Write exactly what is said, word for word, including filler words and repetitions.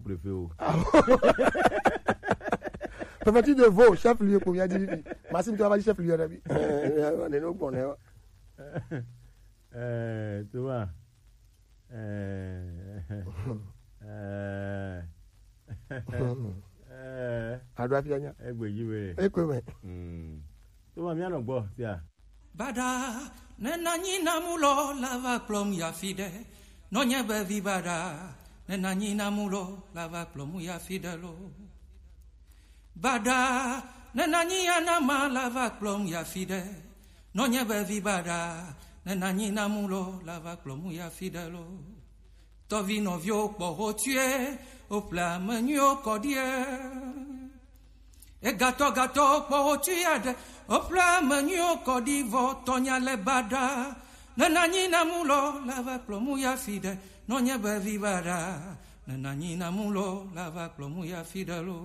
préfet o. Ah bon? Préfecture de Vaud, chef-lieu ko mía di fi. Maxime, tu vas dire chef-lieu na mi. Eh, ne no gbɔn ne o. Eh, tu vois. Eh, eh, eh, Ado afia nya. Egbe dzi be. Ekpe me. Mm. Tu vois, mía nɔ gbɔ sia. Baɖa, ne nanyi na mu lɔ la va kplɔm ya fi ɖe. Nɔnye be vi baɖa, ne nanyi na mu lɔ la va kplɔm ya fi ɖe lo. Baɖa, ne nanyi ya na ma la va kplɔm ya fi ɖe. Nɔnye be vi baɖa, ne nanyi na mu lɔ la va kplɔm ya fi ɖe lo. Tɔvi nɔviwo kpɔ ho tue, o ƒle ame nyuiwo kɔ ɖie. Egatɔ gatɔ kpɔ wo tui aɖe, woƒle ame nyuiwo kɔ ɖi vɔ tɔnya le baɖa. Ne nanyi na mu lɔ la va kplɔ mu ya fi ɖe, nɔnye be vi baɖa. Ne nanyi na mu lɔ la va kplɔ mu ya fi ɖe lo.